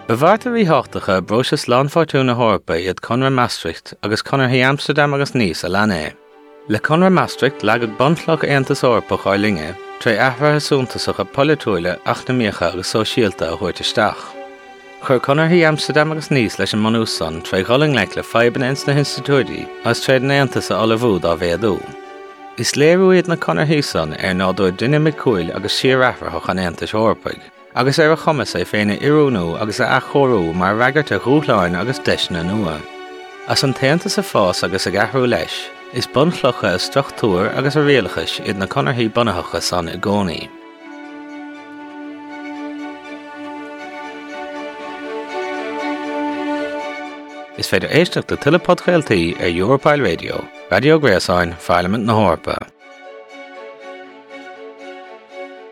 Ba bhearta ríthábhachtacha i bpróiseas lánpháirtiú na hEorpa iad Conradh Maastricht agus Conarthaí Amsterdam agus Nice a lean é. Le Conradh Maastricht leagadh bunchloch Aontas Eorpach ár linne tré athruithe suntasacha polaitiúila, eacnamaíocha agus sóisialta a thabhairt isteach. Chuir Conarthaí Amsterdam agus Nice leis an mbunús san tré dhul i ngleic le fadhbanna ins na hinstitiúidí agus tréd an Aontas a ullmhú dá mhéadú. Is léiriú iad na conarthaí san ar nádúr dinimiciúil agus síorathraitheach an Aontais Eorpaigh. agus ar a chumas é féin a oiriúnú agus a athchóiriú mar fhreagairt ar dhúshláin agus deiseanna nua. As an tAontas ag fás agus ag athrú leis, is bunchlocha a struchtúir agus a rialachais iad na conarthaí bunaitheacha san i gcónaí. Is féidir éisteacht le tuilleadh podchraoltaí ar Europarl Radio, raidió gréasáin Pharlaimint na hEorpa.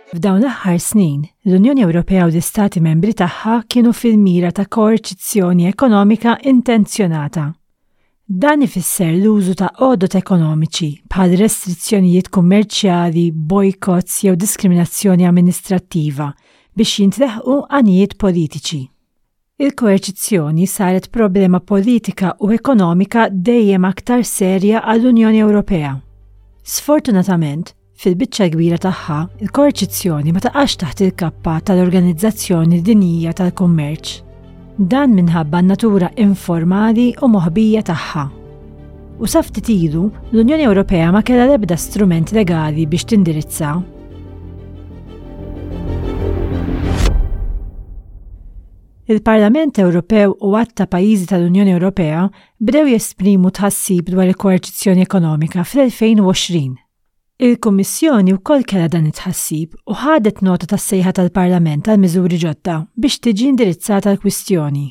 F'dawn l-aħħar snin, l-Unjoni Ewropea u l-Istati Membri tagħha kienu fil-mira ta' koerċizzjoni ekonomika intenzjonata. Dan ifisser l-użu ta' għodod ekonomiċi bħal restrizzjonijiet kummerċjali, bojkotts jew diskriminazzjoni amministrattiva biex jintleħqu għanijiet politiċi. Il-koerċizzjoni saret problema politika u ekonomika dejjem aktar serja għall-Unjoni Ewropea. Sfortunatament, fil-biċċa l-kbira tagħha, il-koerċizzjoni ma taqax taħt il-kappa tal-Organizzazzjoni Dinjija tal-Kummerċ. Dan minħabba n-natura informali u moħbija tagħha. U sa ftit ilu, l-Unjoni Ewropea ma kellha l-ebda strument legali biex tindirizza. Il-Parlament Ewropew u għadd ta' pajjiżi tal-Unjoni Ewropea bdew jesprimu tħassib dwar il-koerċizzjoni ekonomika fl-2020. Il-Kummissjoni wkoll kellha dan it-tħassib u ħadet nota tas-sejħa tal-Parlament għal miżuri ġodda biex tiġi indirizzata l-kwistjoni.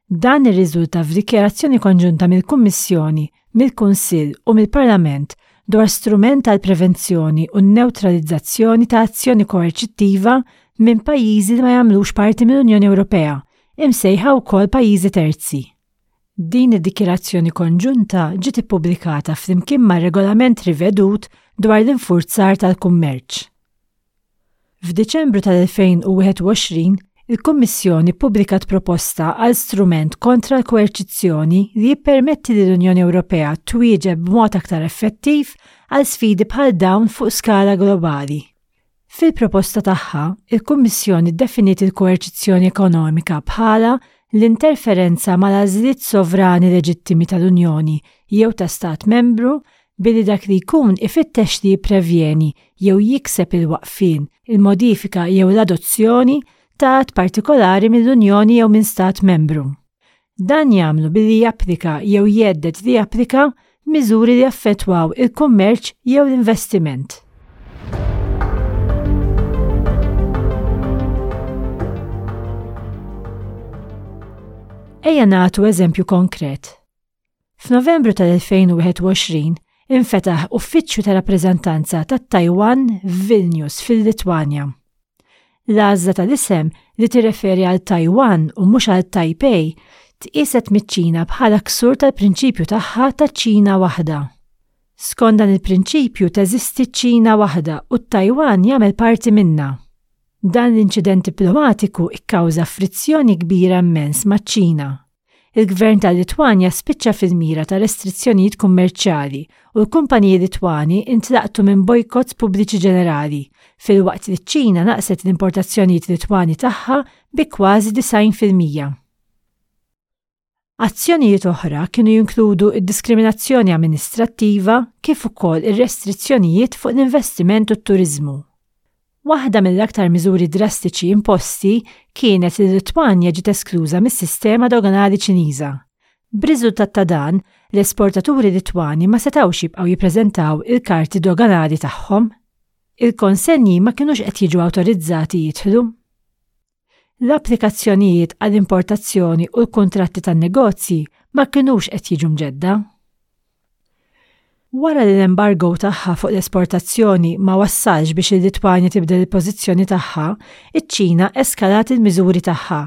Dan irriżulta f'dikjarazzjoni konġunta mill-Kummissjoni, mill-Kunsill u mill-Parlament dwar strument għall-prevenzjoni u n-newtralizzazzjoni ta' azzjoni koerċittiva minn pajjiżi li ma jagħmlux parti mill-Unjoni Ewropea, imsejħa wkoll pajjiżi terzi. Din id-dikjarazzjoni konġunta ġiet ippubblikata flimkien mar-Regolament rivedut dwar l-infurzar tal-kummerċ. F'Diċembru tal-2021, il-Kummissjoni ppubblikat proposta għal strument kontra l-koerċizzjoni li jippermetti lill-Unjoni Ewropea twieġeb b'mod aktar effettiv għal sfidi bħal dawn fuq skala globali. Fil-proposta tagħha, il-Kummissjoni ddefiniet il-koerċizzjoni ekonomika bħala l-interferenza mal-għażliet sovrani leġittimi tal-Unjoni jew ta' Stat Membru billi dak li jkun ifittex li jipprevjeni jew jikseb il-waqfien, il-modifika jew l-adozzjoni ta' att partikolari mill-Unjoni jew minn Stat Membru. Dan jagħmlu billi japplika jew jhedded li japplika miżuri li jaffettwaw il-kummerċ jew l-investiment. Ejja nagħtu eżempju konkret. F'Novembru tal-2021 infetaħ uffiċċju ta' rappreżentanza tat-Taiwan f'Vilnius fil-Litwanja. L-għażla tal-isem li tirreferi għal Taiwan u mhux għal Taipei tqieset miċ-Ċina bħala ksur tal-prinċipju tagħha ta' Ċina waħda. Skont dan il-prinċipju teżisti Ċina waħda u t-Taiwan jagħmel parti minnha. Dan l-inċident diplomatiku kkawża frizzjoni kbira immens maċ-Ċina. Il-Gvern tal-Litwanja spiċċa fil-mira ta' restrizzjonijiet kummerċjali u l-kumpaniji Litwani ntlaqtu minn bojkotts pubbliċi ġenerali, filwaqt li ċ-Ċina naqset l-importazzjonijiet Litwani tagħha bi kważi 90%. Azzjonijiet oħra kienu jinkludu d-diskriminazzjoni amministrattiva kif ukoll ir-restrizzjonijiet fuq l-investiment u t-turiżmu. Waħda mill-aktar miżuri drastiċi imposti kienet li l-Litwanja ġiet eskluża mis-sistema doganali Ċiniża. B'riżultat ta' dan, l-esportaturi Litwani ma setgħux jibqgħu jippreżentaw il-karti doganali tagħhom. Il-konsenji ma kinux qed jiġu awtorizzati jidħlu. L-applikazzjonijiet għall-importazzjoni u l-kuntratti tan-negozji ma kinux qed jiġu mġedda. Wara li l-embargo tagħha fuq l-esportazzjoni ma wassalx biex il-Litwanja tibdel il-pożizzjoni tagħha, iċ-Ċina eskalat il-miżuri tagħha.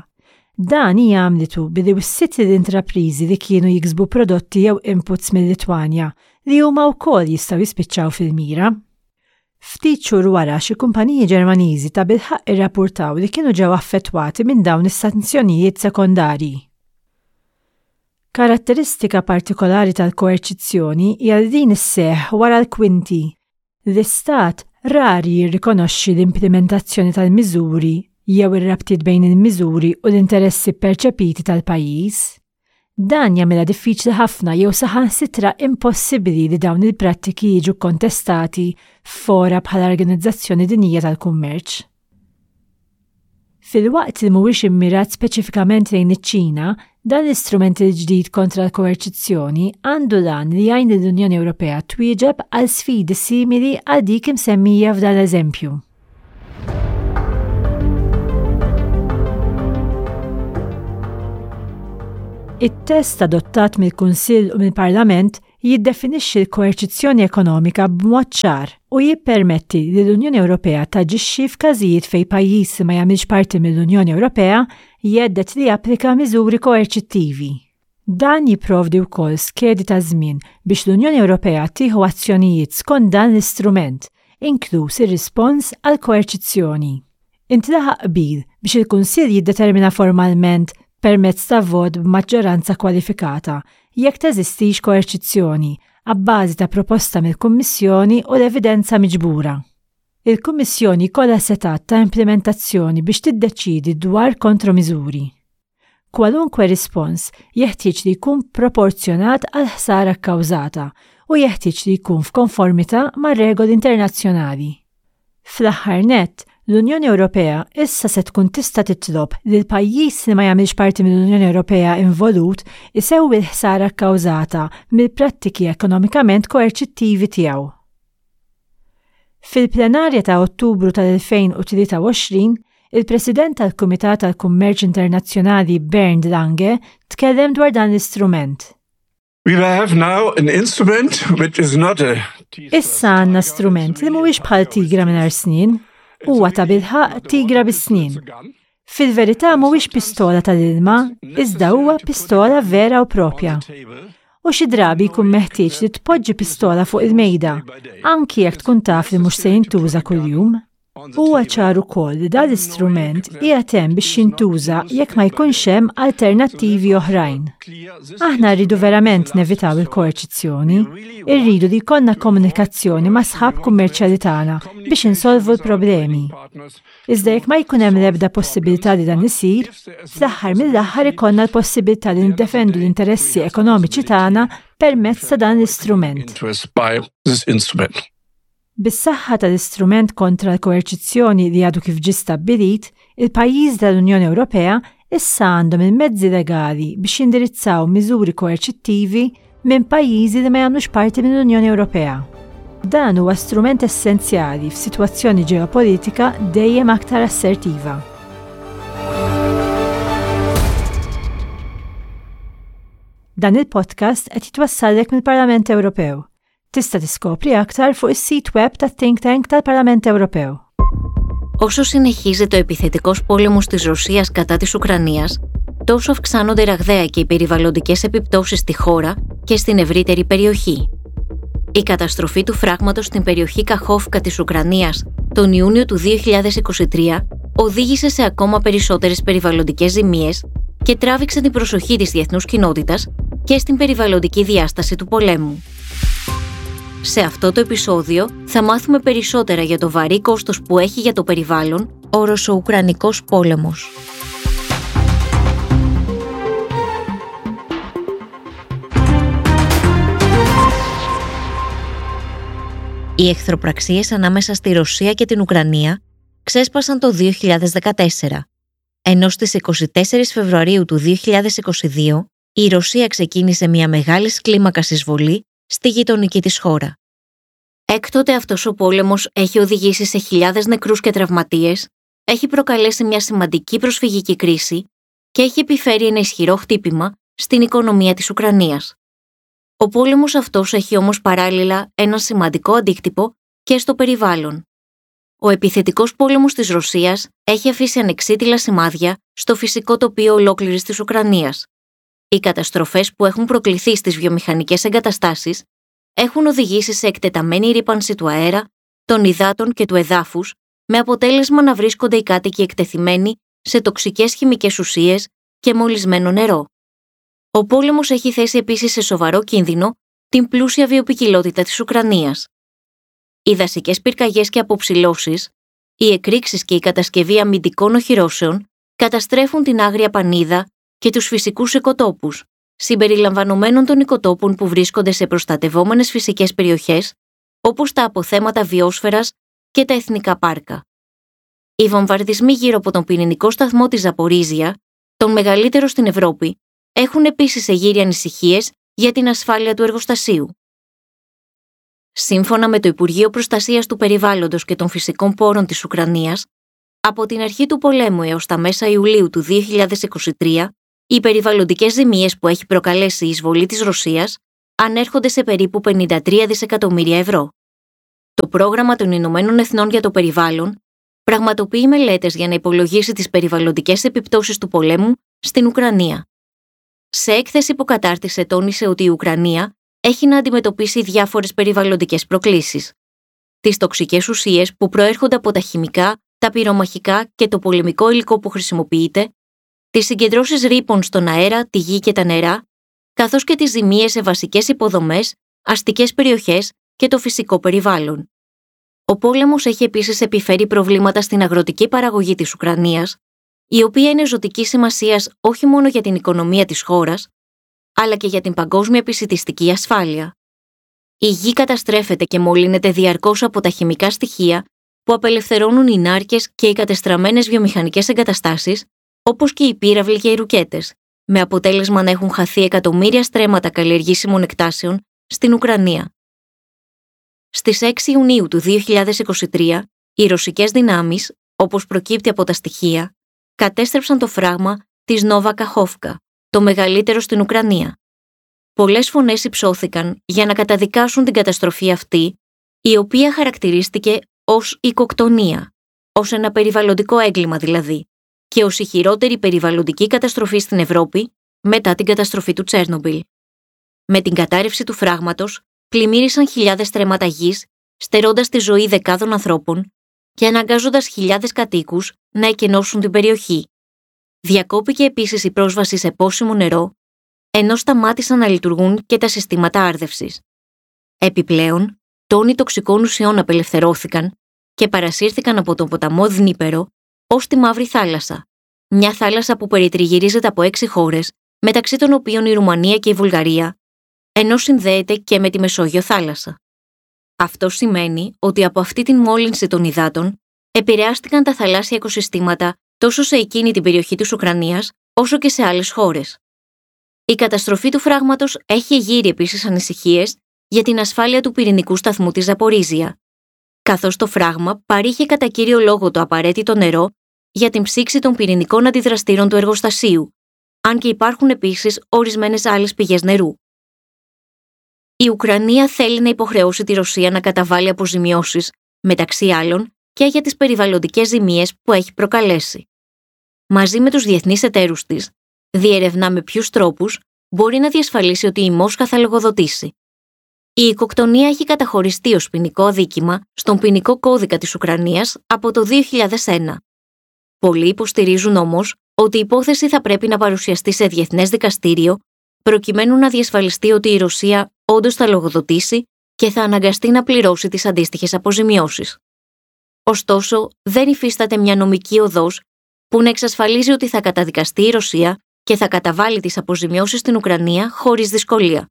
Dan hija għamlitu billi wissiet lill-intrapriżi li kienu jiksbu prodotti jew inputs mil-Litwanja li huma wkoll jistgħu jispiċċaw fil-mira. Ftit xhur wara xi kumpaniji Ġermaniżi tabilħaqq irrappurtaw li kienu ġew affettwati minn dawn is-sanzjonijiet sekondarji. Karatteristika partikolari tal-koerċizzjoni hija li din isseħħ wara l-kwinti. L-Istat rari jirrikonoxxi l-implimentazzjoni tal-miżuri jew ir-rabtiet bejn il-miżuri u l-interessi pperċepiti tal-pajjiż. Dan jagħmilha diffiċli ħafna jew saħansitra impossibbli li dawn il-prattiki jiġu kkontestati f'fora bħall-Organizzazzjoni Dinjija tal-Kummerċ. Filwaqt li mhuwiex immirat speċifikament lejn iċ-Ċina, dan l-istrument il-ġdid kontra l-koerċizzjoni għandu l-għan li jgħin lill-Unjoni Ewropea twieġeb għal sfidi simili għal dik imsemmija f'dan l-eżempju. It-test adottat mill-Kunsill u mill-Parlament jiddefinixxi l-koerċizzjoni ekonomika b'mod ċar u jippermetti li l-Unjoni Ewropea taġixxi f'każijiet fejn pajjiż li ma jagħmilx parti mill-Unjoni Ewropea jhedded li japplika miżuri koerċittivi. Dan jipprovdi wkoll skedi ta' żmien biex l-Unjoni Ewropea tieħu azzjonijiet skont dan l-istrument, inkluż ir-rispons għall-koerċizzjoni. Intlaħaq qbil biex il-Kunsill jiddetermina formalment permezz ta' vot b'maġġoranza kwalifikata jekk teżistix koerċizzjoni, abbażi ta' proposta mill-Kummissjoni u l-evidenza miġbura. Il-Kummissjoni jkollha setgħat ta' implimentazzjoni biex tiddeċiedi dwar kontromiżuri. Kwalunkwe rispons jeħtieġ li jkun proporzjonat għall-ħsara kkawżata u jeħtieġ li jkun f'konformità mar-regoli internazzjonali. Fl-aħħar nett, l-Unjoni Ewropea issa se tkun tista' titlob li l-pajjiż li ma jagħmilx parti mill-Unjoni Ewropea involut isewwi l-ħsara kkawżata mill-prattiki ekonomikament koerċittivi tiegħu. Fil-plenarja ta' Ottubru tal-2023, il-President tal-Kumitat għall-Kummerċ Internazzjonali Bernd Lange tkellem dwar dan l-istrument. We have now an instrument which is not a Issa għandna strument li mhuwiex bħal tigra mingħajr snien, huwa tabilħaqq tigra bis-snien. Fil-verità mhuwiex pistola tal-ilma, iżda huwa pistola vera u propja. U xi drabi jkun meħtieġ li tpoġġi pistola fuq il-mejda, anki jekk tkun taf li mhux se jintuża kuljum. Huwa ċar ukoll li dan l-istrument qiegħed hemm biex jintuża jekk ma jkunx hemm alternattivi oħrajn. Aħna rridu verament nevitaw il-koerċizzjoni, irridu li jkollna komunikazzjoni ma' sħab kummerċjali tagħna biex insolvu l-problemi. Iżda jekk ma jkun hemm l-ebda possibilità li dan isir, fl-aħħar mill-aħħar ikollna l-possibilità li niddefendu l-interessi ekonomiċi tagħna permezz ta' dan l-istrument. Bis-saħħa tal-istrument kontra l-koerċizzjoni li għadu kif ġie stabbilit, il-pajjiżi tal-Unjoni Ewropea issa għandhom il-mezzi legali biex jindirizzaw miżuri koerċittivi minn pajjiżi li ma jagħmlux parti mill-Unjoni Ewropea. Dan huwa strument essenzjali f'sitwazzjoni ġeopolitika dejjem aktar assertiva. Dan il-podcast qed jitwassallek mill-Parlament Ewropew. Tista' tiskopri aktar fuq is-sit web tat-Think Tank tal-Parlament Ewropew. Όσο συνεχίζεται ο επιθετικός πόλεμος της Ρωσίας κατά της Ουκρανίας, τόσο αυξάνονται ραγδαία και οι περιβαλλοντικές επιπτώσεις στη χώρα και στην ευρύτερη περιοχή. Η καταστροφή του φράγματος στην περιοχή Καχόφκα της Ουκρανίας τον Ιούνιο του 2023 οδήγησε σε ακόμα περισσότερες περιβαλλοντικές ζημίες και τράβηξε την προσοχή της διεθνούς κοινότητας και στην περιβαλλοντική διάσταση του πολέμου. Σε αυτό το επεισόδιο θα μάθουμε περισσότερα για το βαρύ κόστος που έχει για το περιβάλλον ο Ρωσο-Ουκρανικός πόλεμος. Οι εχθροπραξίες ανάμεσα στη Ρωσία και την Ουκρανία ξέσπασαν το 2014, ενώ στις 24 Φεβρουαρίου του 2022 η Ρωσία ξεκίνησε μια μεγάλη κλίμακα εισβολή στη γειτονική της χώρα. Έκτοτε αυτός ο πόλεμος έχει οδηγήσει σε χιλιάδες νεκρούς και τραυματίες, έχει προκαλέσει μια σημαντική προσφυγική κρίση και έχει επιφέρει ένα ισχυρό χτύπημα στην οικονομία της Ουκρανίας. Ο πόλεμος αυτός έχει όμως παράλληλα ένα σημαντικό αντίκτυπο και στο περιβάλλον. Ο επιθετικός πόλεμος της Ρωσίας έχει αφήσει ανεξίτηλα σημάδια στο φυσικό τοπίο ολόκληρης της Ουκρανίας. Οι καταστροφές που έχουν προκληθεί στις βιομηχανικές εγκαταστάσεις έχουν οδηγήσει σε εκτεταμένη ρύπανση του αέρα, των υδάτων και του εδάφους, με αποτέλεσμα να βρίσκονται οι κάτοικοι εκτεθειμένοι σε τοξικές χημικές ουσίες και μολυσμένο νερό. Ο πόλεμος έχει θέσει επίσης σε σοβαρό κίνδυνο την πλούσια βιοποικιλότητα της Ουκρανίας. Οι δασικές πυρκαγιές και αποψηλώσεις, οι εκρήξεις και η κατασκευή αμυντικών οχυρώσεων καταστρέφουν την άγρια πανίδα και τους φυσικούς οικοτόπους, συμπεριλαμβανομένων των οικοτόπων που βρίσκονται σε προστατευόμενες φυσικές περιοχές, όπως τα αποθέματα βιόσφαιρας και τα εθνικά πάρκα. Οι βομβαρδισμοί γύρω από τον πυρηνικό σταθμό της Ζαπορίζια, τον μεγαλύτερο στην Ευρώπη, έχουν επίσης εγείρει ανησυχίες για την ασφάλεια του εργοστασίου. Σύμφωνα με το Υπουργείο Προστασίας του Περιβάλλοντος και των Φυσικών Πόρων της Ουκρανίας, από την αρχή του πολέμου έως τα μέσα Ιουλίου του 2023, οι περιβαλλοντικές ζημίες που έχει προκαλέσει η εισβολή της Ρωσίας ανέρχονται σε περίπου 53 δισεκατομμύρια ευρώ. Το Πρόγραμμα των Ηνωμένων Εθνών για το Περιβάλλον πραγματοποιεί μελέτες για να υπολογίσει τις περιβαλλοντικές επιπτώσεις του πολέμου στην Ουκρανία. Σε έκθεση που κατάρτισε, τόνισε ότι η Ουκρανία έχει να αντιμετωπίσει διάφορες περιβαλλοντικές προκλήσεις. Τις τοξικές ουσίες που προέρχονται από τα χημικά, τα πυρομαχικά και το πολεμικό υλικό που χρησιμοποιείται, τις συγκεντρώσεις ρήπων στον αέρα, τη γη και τα νερά, καθώς και τις ζημίες σε βασικές υποδομές, αστικές περιοχές και το φυσικό περιβάλλον. Ο πόλεμος έχει επίσης επιφέρει προβλήματα στην αγροτική παραγωγή της Ουκρανίας, η οποία είναι ζωτικής σημασίας όχι μόνο για την οικονομία της χώρας, αλλά και για την παγκόσμια επισιτιστική ασφάλεια. Η γη καταστρέφεται και μολύνεται διαρκώς από τα χημικά στοιχεία που απελευθερώνουν οι νάρκες και οι κατεστραμμένες βιομηχανικές εγκαταστάσεις, όπως και οι πύραυλοι και οι ρουκέτες, με αποτέλεσμα να έχουν χαθεί εκατομμύρια στρέμματα καλλιεργήσιμων εκτάσεων στην Ουκρανία. Στις 6 Ιουνίου του 2023, οι ρωσικές δυνάμεις, όπως προκύπτει από τα στοιχεία, κατέστρεψαν το φράγμα της Νόβα Καχόφκα, το μεγαλύτερο στην Ουκρανία. Πολλές φωνές υψώθηκαν για να καταδικάσουν την καταστροφή αυτή, η οποία χαρακτηρίστηκε ως οικοκτονία, ως ένα περιβαλλοντικό έγκλημα δηλαδή, και ως η χειρότερη περιβαλλοντική καταστροφή στην Ευρώπη μετά την καταστροφή του Τσέρνομπιλ. Με την κατάρρευση του φράγματος, πλημμύρισαν χιλιάδες στρέμματα γης, στερώντας τη ζωή δεκάδων ανθρώπων και αναγκάζοντας χιλιάδες κατοίκους να εκενώσουν την περιοχή. Διακόπηκε επίσης η πρόσβαση σε πόσιμο νερό, ενώ σταμάτησαν να λειτουργούν και τα συστήματα άρδευσης. Επιπλέον, τόνοι τοξικών ουσιών απελευθερώθηκαν και παρασύρθηκαν από τον ποταμό Δνήπερο ως τη Μαύρη Θάλασσα, μια θάλασσα που περιτριγυρίζεται από 6 χώρες, μεταξύ των οποίων η Ρουμανία και η Βουλγαρία, ενώ συνδέεται και με τη Μεσόγειο θάλασσα. Αυτό σημαίνει ότι από αυτή την μόλυνση των υδάτων επηρεάστηκαν τα θαλάσσια οικοσυστήματα τόσο σε εκείνη την περιοχή της Ουκρανίας, όσο και σε άλλες χώρες. Η καταστροφή του φράγματος έχει εγείρει επίσης ανησυχίες για την ασφάλεια του πυρηνικού σταθμού της Ζαπορίζια, καθώς το φράγμα παρήχε κατά κύριο λόγο το απαραίτητο νερό για την ψήξη των πυρηνικών αντιδραστήρων του εργοστασίου, αν και υπάρχουν επίσης ορισμένες άλλες πηγές νερού. Η Ουκρανία θέλει να υποχρεώσει τη Ρωσία να καταβάλει αποζημιώσεις, μεταξύ άλλων, και για τις περιβαλλοντικές ζημίες που έχει προκαλέσει. Μαζί με τους διεθνείς εταίρους της, διερευνά με ποιους τρόπους μπορεί να διασφαλίσει ότι η Μόσχα θα λογοδοτήσει. Η οικοκτονία έχει καταχωριστεί ως ποινικό αδίκημα στον ποινικό κώδικα της Ουκρανίας από το 2001. Πολλοί υποστηρίζουν όμως ότι η υπόθεση θα πρέπει να παρουσιαστεί σε διεθνές δικαστήριο προκειμένου να διασφαλιστεί ότι η Ρωσία όντως θα λογοδοτήσει και θα αναγκαστεί να πληρώσει τις αντίστοιχες αποζημιώσεις. Ωστόσο, δεν υφίσταται μια νομική οδός που να εξασφαλίζει ότι θα καταδικαστεί η Ρωσία και θα καταβάλει τις αποζημιώσεις στην Ουκρανία χωρίς δυσκολία.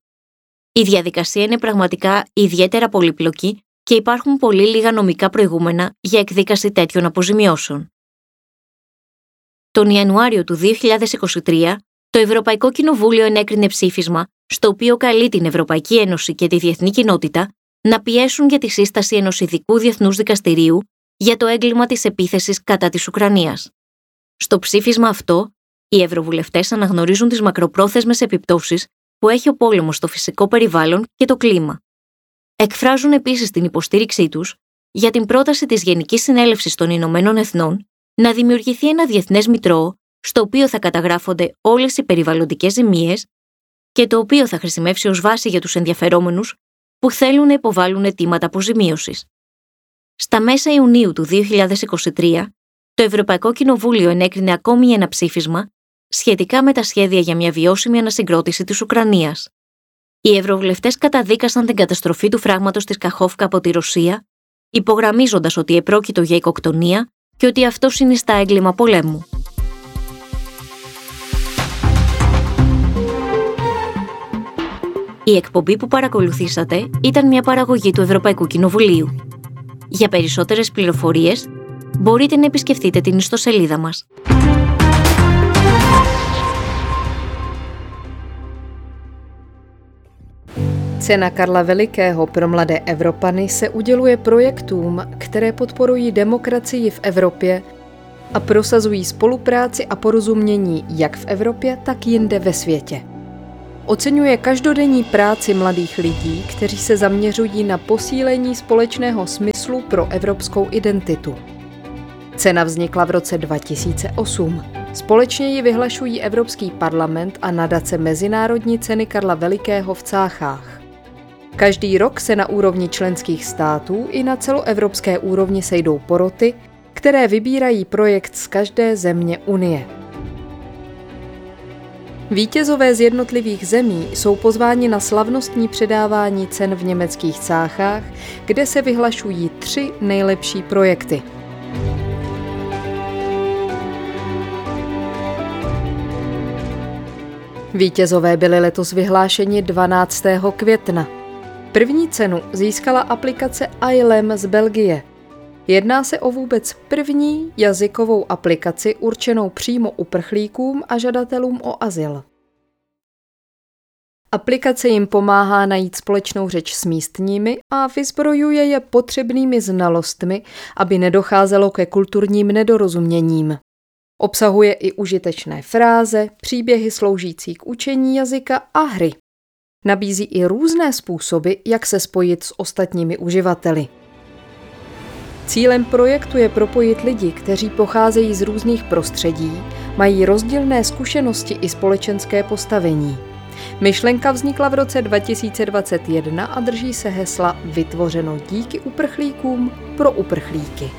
Η διαδικασία είναι πραγματικά ιδιαίτερα πολύπλοκη και υπάρχουν πολύ λίγα νομικά προηγούμενα για εκδίκαση τέτοιων αποζημιώσεων. Τον Ιανουάριο του 2023, το Ευρωπαϊκό Κοινοβούλιο ενέκρινε ψήφισμα στο οποίο καλεί την Ευρωπαϊκή Ένωση και τη διεθνή κοινότητα να πιέσουν για τη σύσταση ενός ειδικού διεθνούς δικαστηρίου για το έγκλημα της επίθεσης κατά της Ουκρανίας. Στο ψήφισμα αυτό, οι ευρωβουλευτές αναγνωρίζουν τις μακροπρόθεσμες επιπτώσεις που έχει ο πόλεμος στο φυσικό περιβάλλον και το κλίμα. Εκφράζουν επίσης την υποστήριξή τους για την πρόταση της Γενικής Συνέλευσης των Ηνωμένων Εθνών να δημιουργηθεί ένα διεθνές μητρώο στο οποίο θα καταγράφονται όλες οι περιβαλλοντικές ζημίες και το οποίο θα χρησιμεύσει ως βάση για τους ενδιαφερόμενους που θέλουν να υποβάλουν αιτήματα αποζημίωσης. Στα μέσα Ιουνίου του 2023, το Ευρωπαϊκό Κοινοβούλιο ενέκρινε ακόμη ένα ψήφισμα σχετικά με τα σχέδια για μια βιώσιμη ανασυγκρότηση της Ουκρανίας. Οι ευρωβουλευτές καταδίκασαν την καταστροφή του φράγματος της Καχόφκα από τη Ρωσία, υπογραμμίζοντας ότι επρόκειτο για οικοκτονία και ότι αυτό συνιστά έγκλημα πολέμου. Η εκπομπή που παρακολουθήσατε ήταν μια παραγωγή του Ευρωπαϊκού Κοινοβουλίου. Για περισσότερες πληροφορίες μπορείτε να επισκεφτείτε την ιστοσελίδα μας. Cena Karla Velikého pro mladé Evropany se uděluje projektům, které podporují demokracii v Evropě a prosazují spolupráci a porozumění jak v Evropě, tak jinde ve světě. Oceňuje každodenní práci mladých lidí, kteří se zaměřují na posílení společného smyslu pro evropskou identitu. Cena vznikla v roce 2008. Společně ji vyhlašují Evropský parlament a nadace Mezinárodní ceny Karla Velikého v Cáchách. Každý rok se na úrovni členských států i na celoevropské úrovni sejdou poroty, které vybírají projekt z každé země Unie. Vítězové z jednotlivých zemí jsou pozváni na slavnostní předávání cen v německých Cáchách, kde se vyhlašují 3 nejlepší projekty. Vítězové byli letos vyhlášeni 12. května. První cenu získala aplikace iLem z Belgie. Jedná se o vůbec první jazykovou aplikaci určenou přímo uprchlíkům a žadatelům o azyl. Aplikace jim pomáhá najít společnou řeč s místními a vyzbrojuje je potřebnými znalostmi, aby nedocházelo ke kulturním nedorozuměním. Obsahuje i užitečné fráze, příběhy sloužící k učení jazyka a hry. Nabízí i různé způsoby, jak se spojit s ostatními uživateli. Cílem projektu je propojit lidi, kteří pocházejí z různých prostředí, mají rozdílné zkušenosti i společenské postavení. Myšlenka vznikla v roce 2021 a drží se hesla Vytvořeno díky uprchlíkům pro uprchlíky.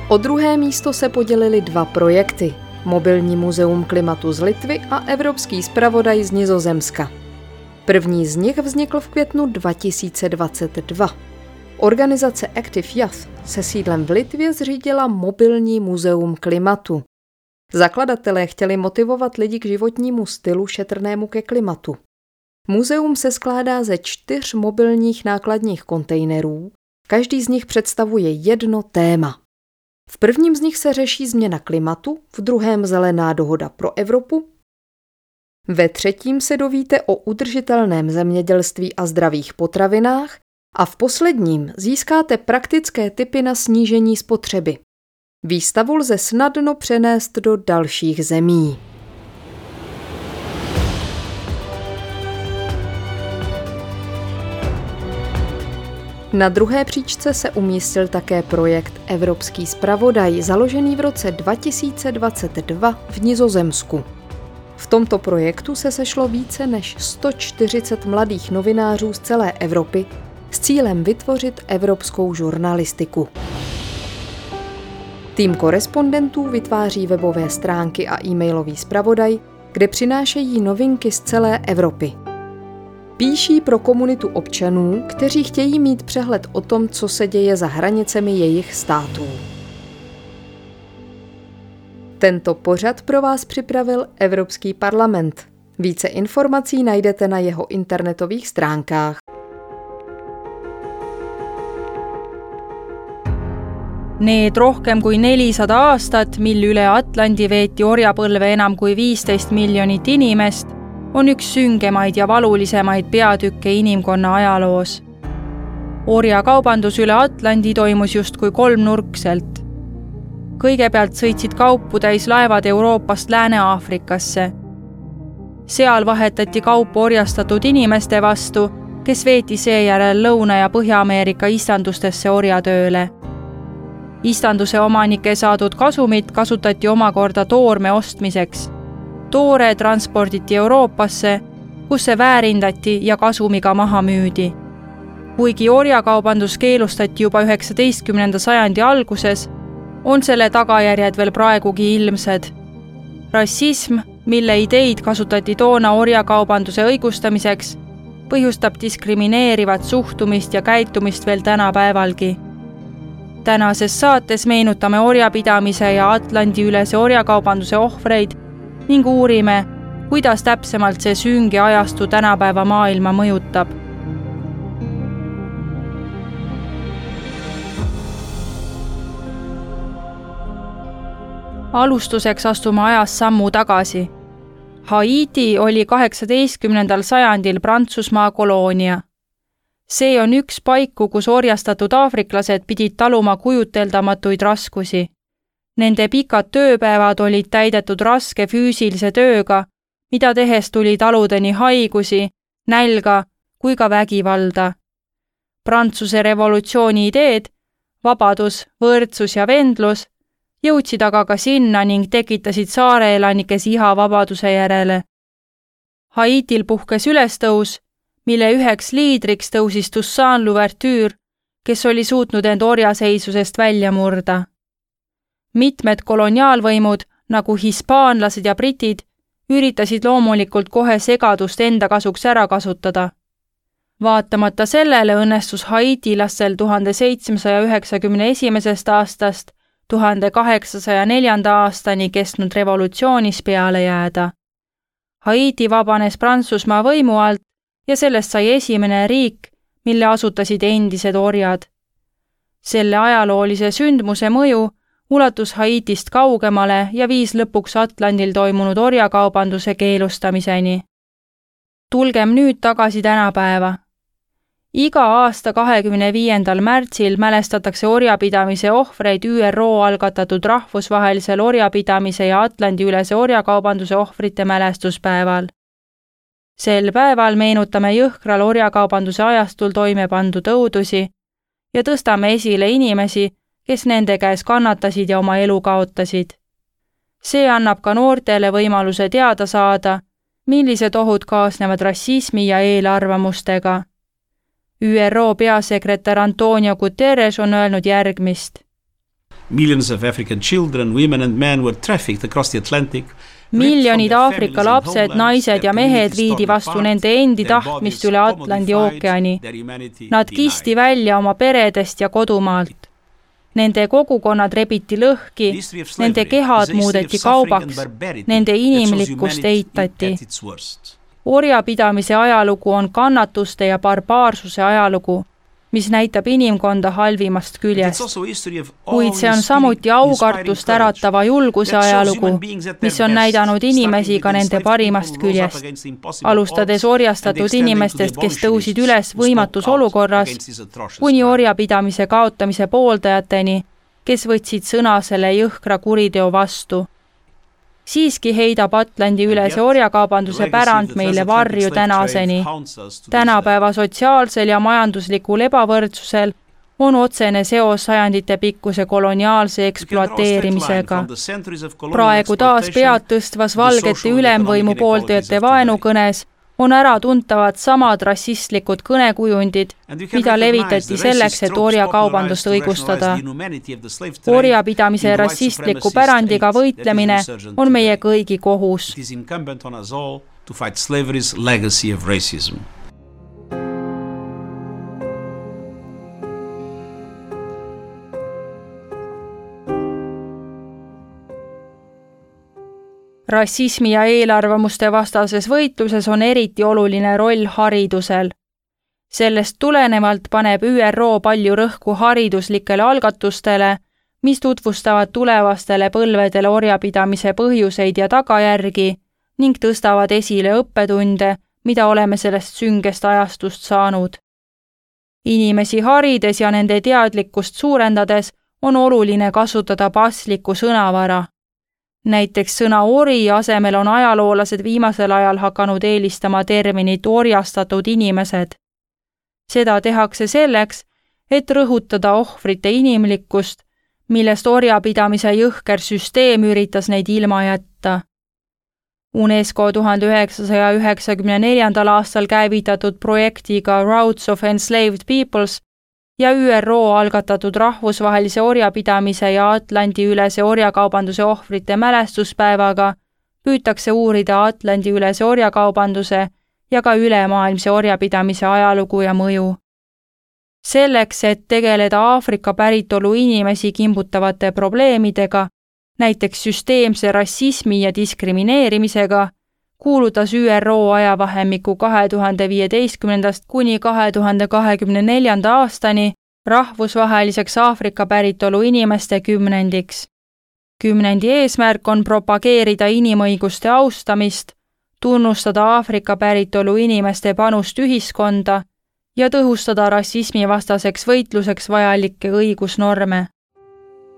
O druhé místo se podělily 2 projekty. Mobilní muzeum klimatu z Litvy a Evropský zpravodaj z Nizozemska. První z nich vznikl v květnu 2022. Organizace Active Youth se sídlem v Litvě zřídila Mobilní muzeum klimatu. Zakladatelé chtěli motivovat lidi k životnímu stylu šetrnému ke klimatu. Muzeum se skládá ze 4 mobilních nákladních kontejnerů, každý z nich představuje jedno téma. V prvním z nich se řeší změna klimatu, v druhém zelená dohoda pro Evropu, ve třetím se dovíte o udržitelném zemědělství a zdravých potravinách a v posledním získáte praktické tipy na snížení spotřeby. Výstavu lze snadno přenést do dalších zemí. Na druhé příčce se umístil také projekt Evropský zpravodaj, založený v roce 2022 v Nizozemsku. V tomto projektu se sešlo více než 140 mladých novinářů z celé Evropy s cílem vytvořit evropskou žurnalistiku. Tým korespondentů vytváří webové stránky a e-mailový zpravodaj, kde přinášejí novinky z celé Evropy. Píší pro komunitu občanů, kteří chtějí mít přehled o tom, co se děje za hranicemi jejich států. Tento pořad pro vás připravil Evropský parlament. Více informací najdete na jeho internetových stránkách. Need rohkem kui 400 aastat, mil üle Atlandi veeti orjapõlve enam kui 15 miljonit inimest, on üks süngemaid ja valulisemaid peatükke inimkonna ajaloos. Orjakaubandus üle Atlandi toimus justkui kolmnurkselt. Kõigepealt sõitsid kaupu täis laevad Euroopast Lääne-Aafrikasse. Seal vahetati kaupu orjastatud inimeste vastu, kes veeti seejärel Lõuna- ja Põhja-Ameerika istandustesse orjatööle. Istanduse omanike saadud kasumit kasutati omakorda toorme ostmiseks. Toore transporditi Euroopasse, kus see väärindati ja kasumiga maha müüdi. Kuigi orjakaubandus keelustati juba 19. sajandi alguses, on selle tagajärjed veel praegugi ilmsed. Rassism, mille ideid kasutati toona orjakaubanduse õigustamiseks, põhjustab diskrimineerivat suhtumist ja käitumist veel tänapäevalgi. Tänases saates meenutame orjapidamise ja Atlandi-ülese orjakaubanduse ohvreid ning uurime, kuidas täpsemalt see sünge ajastu tänapäeva maailma mõjutab. Alustuseks astume ajas sammu tagasi. Haiti oli 18. sajandil Prantsusmaa koloonia. See on üks paiku, kus orjastatud aafriklased pidid taluma kujuteldamatuid raskusi. Nende pikad tööpäevad olid täidetud raske füüsilise tööga, mida tehes tuli taluda nii haigusi, nälga kui ka vägivalda. Prantsuse revolutsiooni ideed, vabadus, võrdsus ja vendlus jõudsid aga ka sinna ning tekitasid saareelanikes iha vabaduse järele. Haitil puhkes ülestõus, mille üheks liidriks tõusis Toussaint Louverture, kes oli suutnud end orjaseisusest välja murda. Mitmed koloniaalvõimud, nagu hispaanlased ja britid, üritasid loomulikult kohe segadust enda kasuks ära kasutada. Vaatamata sellele õnnestus haitilastel 1791. aastast 1804. aastani kestnud revolutsioonis peale jääda. Haiti vabanes Prantsusmaa võimu alt ja sellest sai esimene riik, mille asutasid endised orjad. Selle ajaloolise sündmuse mõju ulatus Haitist kaugemale ja viis lõpuks Atlandil toimunud orjakaubanduse keelustamiseni. Tulgem nüüd tagasi tänapäeva. Iga aasta 25. märtsil mälestatakse orjapidamise ohvreid ÜRO algatatud rahvusvahelisel orjapidamise ja Atlandi-ülese orjakaubanduse ohvrite mälestuspäeval. Sel päeval meenutame jõhkral orjakaubanduse ajastul toime pandud õudusi ja tõstame esile inimesi, kes nende käes kannatasid ja oma elu kaotasid. See annab ka noortele võimaluse teada saada, millised ohud kaasnevad rassismi ja eelarvamustega. ÜRO peasekretär Antonio Guterres on öelnud järgmist. Millions of African children, women and men were trafficked across the Atlantic. Miljonid Aafrika lapsed, naised ja mehed viidi vastu nende endi tahtmist üle Atlandi ookeani. Nad kisti välja oma peredest ja kodumaalt. Nende kogukonnad rebiti lõhki, nende kehad muudeti kaubaks, nende inimlikkust eitati. Orjapidamise ajalugu on kannatuste ja barbaarsuse ajalugu, mis näitab inimkonda halvimast küljest. Kuid see on samuti aukartust äratava julguse ajalugu, mis on näidanud inimesi ka nende parimast küljest. Alustades orjastatud inimestest, kes tõusid üles võimatus olukorras, kuni orjapidamise kaotamise pooldajateni, kes võtsid sõna selle jõhkra kuriteo vastu. Siiski heidab Atlandi-ülese orjakaubanduse pärand meile varju tänaseni. Tänapäeva sotsiaalsel ja majanduslikul ebavõrdsusel on otsene seos sajanditepikkuse koloniaalse ekspluateerimisega. Praegu taas pead tõstvas valgete ülemvõimu pooldajate vaenukõnes on äratuntavad samad rassistlikud kõnekujundid, mida levitati selleks, et orjakaubandust õigustada. Orjapidamise rassistliku pärandiga võitlemine on meie kõigi kohus. It is incumbent on us all to fight slavery's legacy of racism. Rassismi ja eelarvamuste vastases võitluses on eriti oluline roll haridusel. Sellest tulenevalt paneb ÜRO palju rõhku hariduslikele algatustele, mis tutvustavad tulevastele põlvedele orjapidamise põhjuseid ja tagajärgi ning tõstavad esile õppetunde, mida oleme sellest süngest ajastust saanud. Inimesi harides ja nende teadlikkust suurendades on oluline kasutada paslikku sõnavara. Näiteks sõna ori asemel on ajaloolased viimasel ajal hakanud eelistama terminit orjastatud inimesed. Seda tehakse selleks, et rõhutada ohvrite inimlikkust, millest orjapidamise jõhker süsteem üritas neid ilma jätta. UNESCO 1994. aastal käivitatud projektiga Routes of Enslaved Peoples ja ÜRO algatatud rahvusvahelise orjapidamise ja Atlandi-ülese orjakaubanduse ohvrite mälestuspäevaga püütakse uurida Atlandi-ülese orjakaubanduse ja ka ülemaailmse orjapidamise ajalugu ja mõju. Selleks, et tegeleda Aafrika päritolu inimesi kimbutavate probleemidega, näiteks süsteemse rassismi ja diskrimineerimisega, kuulutas ÜRO ajavahemikku 2015. kuni 2024. aastani rahvusvaheliseks Aafrika päritolu inimeste kümnendiks. Kümnendi eesmärk on propageerida inimõiguste austamist, tunnustada Aafrika päritolu inimeste panust ühiskonda ja tõhustada rassismivastaseks võitluseks vajalikke õigusnorme.